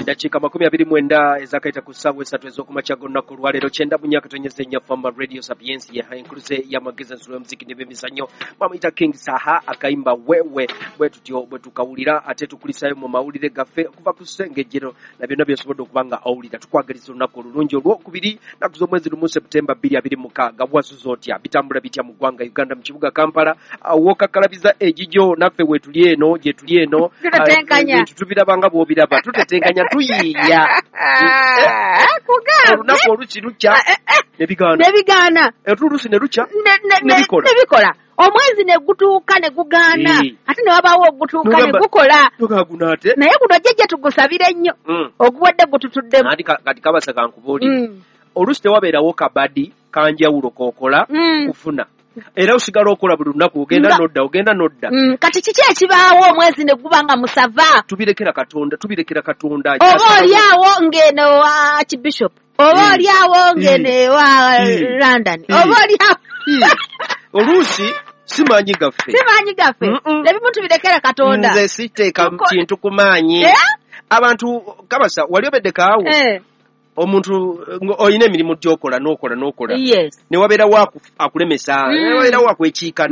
Eddakiika 29 ezakayita ku ssaawa 3 ez'okumakya g'olunaku olwaleero, 94.4 Famba Radio Sapiensia, enkuluze y'amagezi, ensulo y'omuziki n'ebyemizannyo. Bamuyita King Saha, akayimba Wewe. Bwe tutyo bwe tukawulira, ate tukulisayo mu mawulire gaffe okuva ku ssengejjero na byonna by'osobodde okuba nga owulira. Tukwagaliza olunaku olulungi olwokubiri, nnaku z'omwezi 1 Septemba 2026. Wasuze otya? Bitambula bitya mu ggwanga Uganda, mu kibuga Kampala? W'okakkalabiza egijo naffe weetuli eno, gye tuli eno. Tutetenkanya. Ebintu tubiraba nga bw'obiraba, tutetenkanya, tuyiiya. Kugambye. Olunaku oluki lukya ne bigaana, Nebigaana. oluusi ne lukya Nebikola. Nebikola. Omwezi ne gutuuka ne gugaana, ate ne wabaawo ogutuuka ne gukola. Nogaa guno ate. Naye guno jjajja tugusabire nnyo, oguwadde gututuddemu. Anti kati kabasa kankubuulire, oluusi tewabeerawo kabadi kanjawulo k'okola kufuna, era osigala okola buli lunaku, ogenda nodda, ogenda nodda. Kati kiki ekibaawo omwezi ne guba nga musava? Tubirekera Katonda, tubirekera Katonda. Oba oli awo ng'eno wa Archbishop, oba oli awo ng'eno ewa London, oba oli awo. Oluusi si maanyi gaffe. Si maanyi gaffe. Ebimu tubirekera Katonda. Nze siteeka kintu ku maanyi. Abantu kabasa wali obeddeko awo, omuntu olina emirimu gy'okola n'okola n'okola, ne wabeerawo akulemesa, ne wabeerawo akwekiika,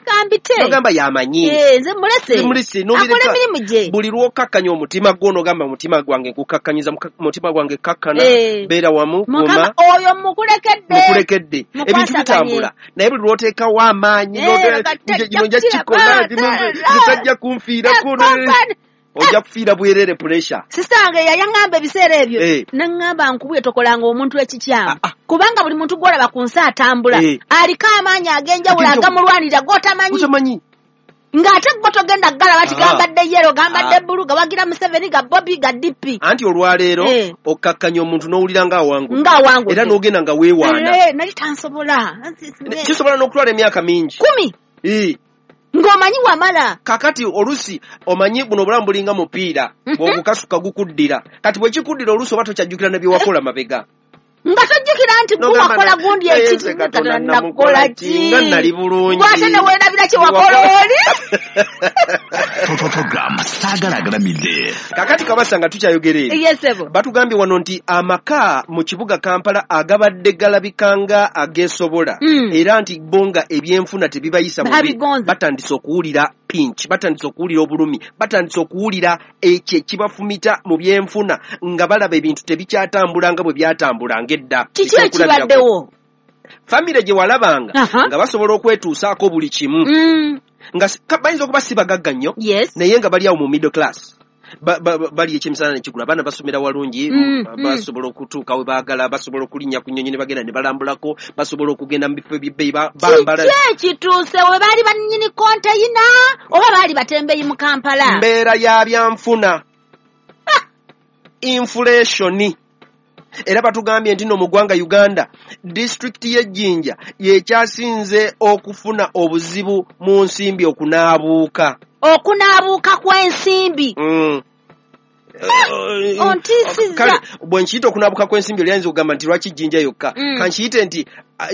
Gambite. N'ogamba yamanyi. Nze mulese. Nze mulese, n'obireka. Akola emirimu gye. Buli lw'okkakkanya omutima gwo n'ogamba omutima gwange nkukakkanyiza, mutima gwange kkakkana, beera wamu, Mukama, guma. Oyo mukulekedde. Mukulekedde. Mukwasaganye. Ebintu bitambula. Naye buli lw'oteekawo amaanyi, Kati kino nja tajja kukikola, kukiraba. nze tajja kunfiirako, ojja kufiira bwerere pressure. Sisita wange yayaŋŋamba ebiseera ebyo, naŋŋamba nkubye tokolanga omuntu ekikyamu, kubanga buli muntu gw'olaba ku nsi atambula aliko amaanyi ag'enjawulo Ag'enjawulo. agamulwanirira g'otamanyi. Otamanyi. Ng'ate gwe togenda kugalaba ti gambadde yero, gambadde bbulu, gawagira Museveni, ga Bobi, ga DP. Anti olwaleero okkakkanya omuntu n'owulira ng'awangudde. Ng'awangudde. Era n'ogenda nga weewaana. Nali tansobola. Kisobola n'okutwala emyaka mingi. 10. Ng'omanyi wamala. Kakati oluusi omanyi buno obulamu bulinga mupiira, bw'ogukasuka gukuddira. Kati bwe kikuddira oluusi oba tokyajjukira ne bye wakola mabega. Nga tojjukira nti N'ogamba gwe wakola gundi naye ekiti, nze Katonda Katonda namukola nakola ki? ki? Nga nali bulungi. Gw'ate ne weerabira kye wakola oli? Program Saagala Agalamidde. Kakati kabasa nga tukyayogera ebyo. Yes, sebo. Batugambye wano nti amaka mu kibuga Kampala agabadde galabika nga ageesobola, era nti bo nga ebyenfuna tebibayisa bubi, Babigonza. batandise okuwulira pinch, batandise okuwulira obulumi, batandise okuwulira ekyo ekibafumita mu byenfuna, nga balaba ebintu tebikyatambula nga bwe byatambulanga edda. Kiki Ekyokulabirako. ekibaddewo? Famire gye walabanga nga basobola okwetuusaako buli kimu, nga bayinza okuba si bagagga nnyo, naye nga bali awo mu middle class. Bali ekyemisana ne kigula, abaana basomera walungi, basobola okutuuka we baagala, basobola okulinnya ku nnyonyi ne bagenda ne balambulako, basobola okugenda mu bifo eby'ebbeeyi, bambala. Kiki ekituuse? We baali bannyini konteyina oba baali batembeyi mu Kampala? Mbeera ya byanfuna, inflation. Era batugambye nti no mu ggwanga Uganda, disitulikiti y'e Jinja y'ekyasinze okufuna obuzibu mu nsimbi okunaabuuka. Okunaabuuka kw'ensimbi. Ontiisizza. Kale bwe nkiyita okunaabuuka kw'ensimbi, oli ayinza okugamba nti lwaki Jinja yokka? Ka nkiyite nti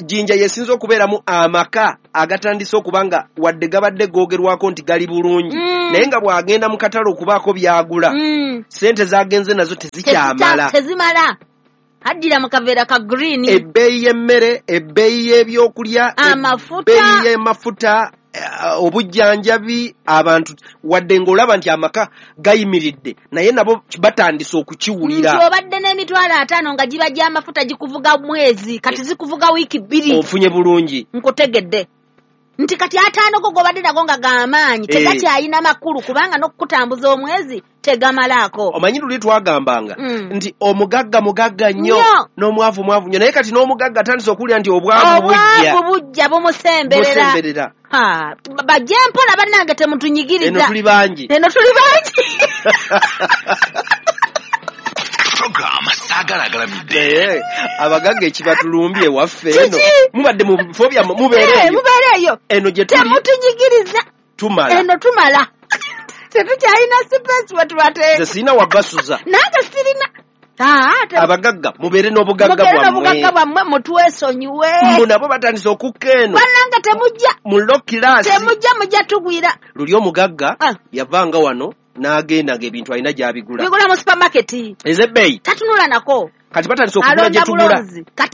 Jinja yesinze okubeeramu amaka agatandise okuba nga wadde gabadde googerwako nti gali bulungi, naye nga bw'agenda mu katale okubaako by'agula, ssente z'agenze nazo tezikyamala. Tezimala. Addira mu kaveera ka green. Ebbeeyi y'emmere, ebbeeyi y'ebyokulya, Amafuta. ebbeeyi y'amafuta, obujjanjabi, abantu wadde ng'olaba nti amaka gayimiridde, naye nabo batandise okukiwulira. Nti obadde n'emitwalo 50 nga giba gy'amafuta gikuvuga mwezi, kati zikuvuga wiiki 2. Ofunye bulungi. Nkutegedde. Nti kati 50 go g'obadde nago nga g'amaanyi, tegakyalina makulu kubanga n'okukutambuza omwezi tegamalaako. Omanyi luli twagambanga nti omugagga mugagga nnyo, n'omwavu mwavu nnyo, naye kati n'omugagga atandise okuwulira nti obwavu bujja. Obwavu bujja bumusemberera. Busemberera. Bajje mpola bannange, temutunyigiriza. Eno tuli bangi. Eno tuli bangi. Program Saagala Agalamidde. Naye abagagga ekibatulumbye ewaffe eno. Kiki? Mubadde mu bifo byammwe, mubeere eyo. Mubeere eyo. Eno gye tuli. Temutunyigiriza. Tumala. Eno tumala. Tetukyalina space we tubateeka. Nze sirina wabasuza. Nange sirina. Abagagga mubeere n'obugagga Mubeere bwammwe. n'obugagga bwammwe, mutwesonyiwe. Mbu nabo batandise okukka eno. Bannange temujja. Mu low class. Temujja, mujja tugwira. Luli omugagga yavanga wano N'agenda ng'ebintu alina gy'abigula. Bigula mu supermarket. Ez'ebbeeyi. Tatunula nako. Kati batandise okugula Alonda gye tugula. bulonzi kati.